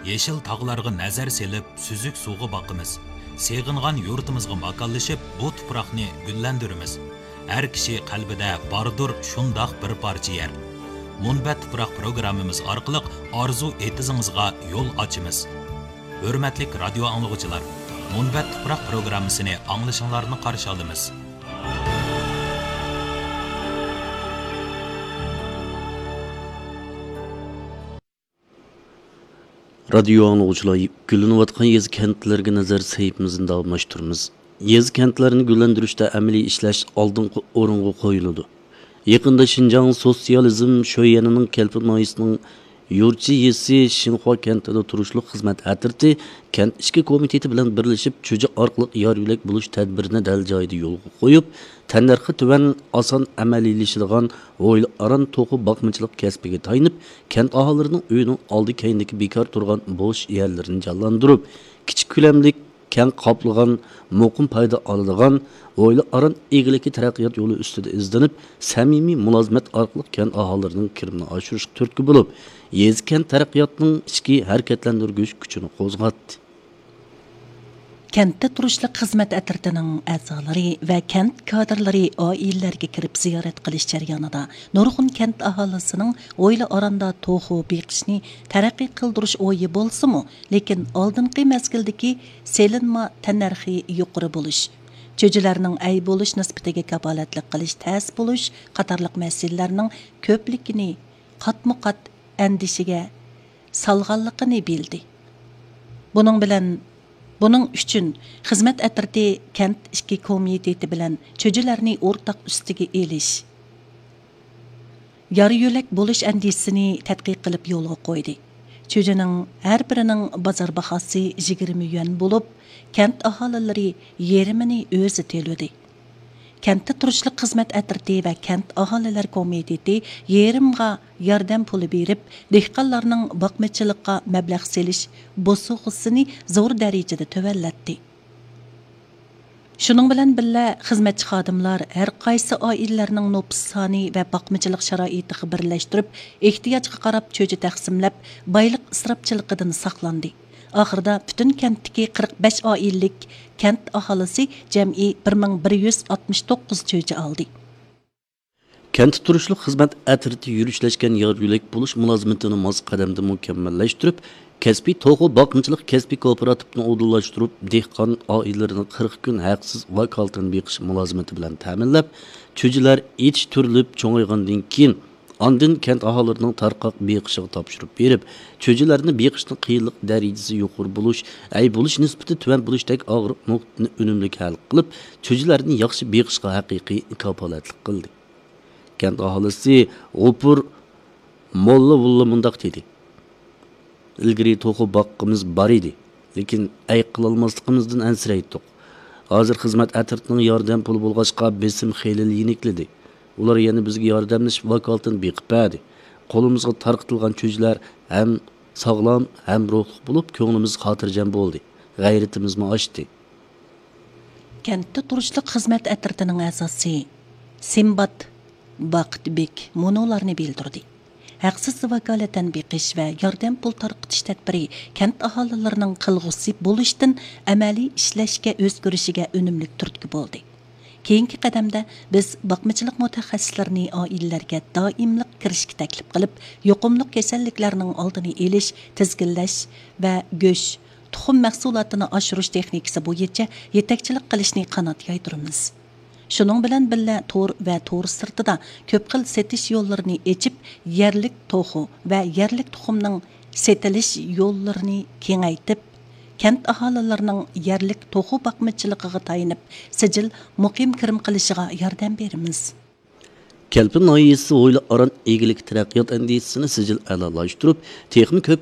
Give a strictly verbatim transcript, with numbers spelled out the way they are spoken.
يېشىل تاغلارغا نەزەر سېلىپ، سۈزۈك سۇغا باقىمىز. سېغىنغان يۇرتىمىزغا ماكانلىشىپ، بۇ تۇپراقنى گۈللەندۈرىمىز. ھەر كىشى قەلبىدە باردۇر شۇنداق بىر پارچە يەر. مۇنبەت تۇپراق پروگراممىمىز ئارقىلىق ئارزۇ ئېتىزىڭىزغا يول ئاچىمىز. ھۆرمەتلىك رادىيو ئاڭلىغۇچىلار، مۇنبەت تۇپراق پروگراممىسىنى ئاڭلىشىڭلارنى قارشى ئالىمىز. رادىيو ئاڭلىغۇچىلار، گۈللىنىۋاتقان يېزا كەنتلەرگە نەزەر سەھىپىمىزنى داۋاملاشتۇرىمىز. يېزا كەنتلەرنى گۈللەندۈرۈشتە ئەمەلىي ئىشلەش ئالدىنقى ئورۇنغا قويۇلىدۇ. يېقىندا شىنجاڭ سوتسىيالىزم شۆيەنىنىڭ كەلپىن ناھىيەسىنىڭ يۇرچى يېزىسى شىنخۇا كەنتىدە تۇرۇشلۇق خىزمەت ئەترىتى كەنت ئىچكى كومىتېتى بىلەن بىرلىشىپ، چۈجە ئارقىلىق يار يۆلەك بولۇش تەدبىرىنى دەل جايىدا يولغا قويۇپ، تەننەرخى تۆۋەن، ئاسان ئەمەلىيلىشىدىغان ھويلا ئاران توخۇ باقمىچىلىق كەسپىگە تايىنىپ، كەنت ئاھالىلىرىنىڭ ئۆيىنىڭ ئالدى كەينىدىكى بىكار تۇرغان بوش يەرلىرىنى جانلاندۇرۇپ، كىچىك كۆلەملىك، كەڭ قاپلىغان، مۇقىم پايدا ئالىدىغان ھويلا ئاران ئىگىلىكى تەرەققىيات يولى ئۈستىدە ئىزدىنىپ، سەمىمىي مۇلازىمەت ئارقىلىق كەنت ئاھالىلىرىنىڭ كىرىمىنى ئاشۇرۇشقا تۈرتكە بولۇپ، يېزا كەنت تەرەققىياتىنىڭ ئىچكى ھەرىكەتلەندۈرگۈچ كۈچىنى قوزغاتتى. كەنتتە تۇرۇشلۇق خىزمەت ئەترىتىنىڭ ئەزالىرى ۋە كەنت كادىرلىرى ئائىلىلەرگە كىرىپ زىيارەت قىلىش جەريانىدا نۇرغۇن كەنت ئاھالىسىنىڭ ھويلا ئاراندا توخۇ بېقىشنى تەرەققىي قىلدۇرۇش ئويى بولسىمۇ، لېكىن ئالدىنقى مەزگىلدىكى سېلىنما تەننەرخى يۇقىرى بولۇش، چۈجىلەرنىڭ ئەي بولۇش نىسبىتىگە كاپالەتلىك قىلىش تەس بولۇش قاتارلىق مەسىلىلەرنىڭ كۆپلۈكىنى قاتمۇ قات ئەندىشىگە سالغانلىقىنى بىلدى. بۇنىڭ بىلەن، بۇنىڭ ئۈچۈن خىزمەت ئەترىتى كەنت ئىچكى كومىتېتى بىلەن چۈجىلەرنى ئورتاق ئۈستىگە ئېلىش، يار يۆلەك بولۇش ئەندىزىسىنى تەتقىق قىلىپ يولغا قويدى. چۈجىنىڭ ھەر بىرىنىڭ بازار باھاسى يىگىرمە يۈەن بولۇپ، كەنت ئاھالىلىرى يېرىمىنى ئۆزى تۆلىدى. كەنتتە تۇرۇشلۇق خىزمەت ئەترىتى ۋە كەنت ئاھالىلەر كومىتېتى يېرىمغا ياردەم پۇلى بېرىپ، دېھقانلارنىڭ باقمىچىلىققا مەبلەغ سېلىش بوسۇغىسىنى زور دەرىجىدە تۆۋەنلەتتى. شۇنىڭ بىلەن بىللە، خىزمەتچى خادىملار ھەر قايسى ئائىلىلەرنىڭ نوپۇس سانى ۋە باقمىچىلىق شارائىتىغا بىرلەشتۈرۈپ، ئېھتىياجغا قاراپ چۈجە تەقسىملەپ، بايلىق ئىسراپچىلىقىدىن ساقلاندى. ئاخىرىدا پۈتۈن كەنتتىكى قىرىق بەش ئائىلىلىك كەنت ئاھالىسى جەمئىي بىر مىڭ بىر يۈز ئاتمىش توققۇز چۈجە ئالدى. كەنتتە تۇرۇشلۇق خىزمەت ئەترىتى يۈرۈشلەشكەن يار يۆلەك بولۇش مۇلازىمىتىنى ماس قەدەمدە مۇكەممەللەشتۈرۈپ، كەسپىي توخۇ باقمىچىلىق كەسپىي كوپىراتىپىنى ئۇدۇللاشتۇرۇپ، دېھقان ئائىلىلىرىنى قىرىق كۈن ھەقسىز ۋاكالىتەن بېقىش مۇلازىمىتى بىلەن تەمىنلەپ، چۈجىلەر يېتىشتۈرۈلۈپ چوڭايغاندىن كېيىن، ئاندىن كەنت ئاھالىلىرىنىڭ تارقاق بېقىشىغا تاپشۇرۇپ بېرىپ، چۈجىلەرنى بېقىشنىڭ قىيىنلىق دەرىجىسى يۇقىرى بولۇش، ئەي بولۇش نىسبىتى تۆۋەن بولۇشتەك ئاغرىق نۇقتىنى ئۈنۈملۈك ھەل قىلىپ، چۈجىلەرنى ياخشى بېقىشقا ھەقىقىي كاپالەتلىك قىلدى. كەنت ئاھالىسى غوپۇر موللا ۋۇللا مۇنداق دېدى: «ئىلگىرى توخۇ باغقىمىز بار ئىدى، لېكىن ئەي قىلالماسلىقىمىزدىن ئەنسىرەيتتۇق. ھازىر خىزمەت ئەترىتىنىڭ ياردەم پۇلى بولغاچقا، بېسىم خېلىلا يېنىكلىدى. ئۇلار يەنە بىزگە ياردەملىشىپ، ۋاكالىتەن بېقىپ بەردى. قولىمىزغا تارقىتىلغان چۈجىلەر ھەم ساغلام، ھەم روھلۇق بولۇپ، كۆڭلىمىز خاتىرجەم بولدى، غەيرىتىمىزمۇ ئاشتى.» كەنتتە تۇرۇشلۇق خىزمەت ئەترىتىنىڭ ئەزاسى سىمبات باقىتبېك مۇنۇلارنى بىلدۈردى: ھەقسىز ۋاكالىتەن بېقىش ۋە ياردەم پۇل تارقىتىش تەدبىرى كەنت ئاھالىلىرىنىڭ قىلغۇسى بولۇشتىن ئەمەلىي ئىشلەشكە ئۆزگىرىشىگە ئۈنۈملۈك تۈرتكە بولدى. كېيىنكى قەدەمدە بىز باقمىچىلىق مۇتەخەسسىسلىرىنى ئائىلىلەرگە دائىملىق كىرىشكە تەكلىپ قىلىپ، يۇقۇملۇق كېسەللىكلەرنىڭ ئالدىنى ئېلىش، تىزگىنلەش ۋە گۆش، تۇخۇم مەھسۇلاتىنى ئاشۇرۇش تېخنىكىسى بويىچە يېتەكچىلىك قىلىشنى قانات يايدۇرىمىز. شۇنىڭ بىلەن بىللە، تور ۋە تور سىرتىدا كۆپ خىل سېتىش يوللىرىنى ئېچىپ، يەرلىك توخۇ ۋە يەرلىك تۇخۇمنىڭ سېتىلىش يوللىرىنى كېڭەيتىپ، كەنت ئاھالىلىرىنىڭ يەرلىك توخۇ باقمىچىلىقىغا تايىنىپ، سىجىل مۇقىم كىرىم قىلىشىغا ياردەم بېرىمىز. كەلپىن ناھىيەسى ھويلا ئاران ئىگىلىك تەرەققىيات ئەندىزىسىنى سىجىل ئەلالاشتۇرۇپ، تېخىمۇ كۆپ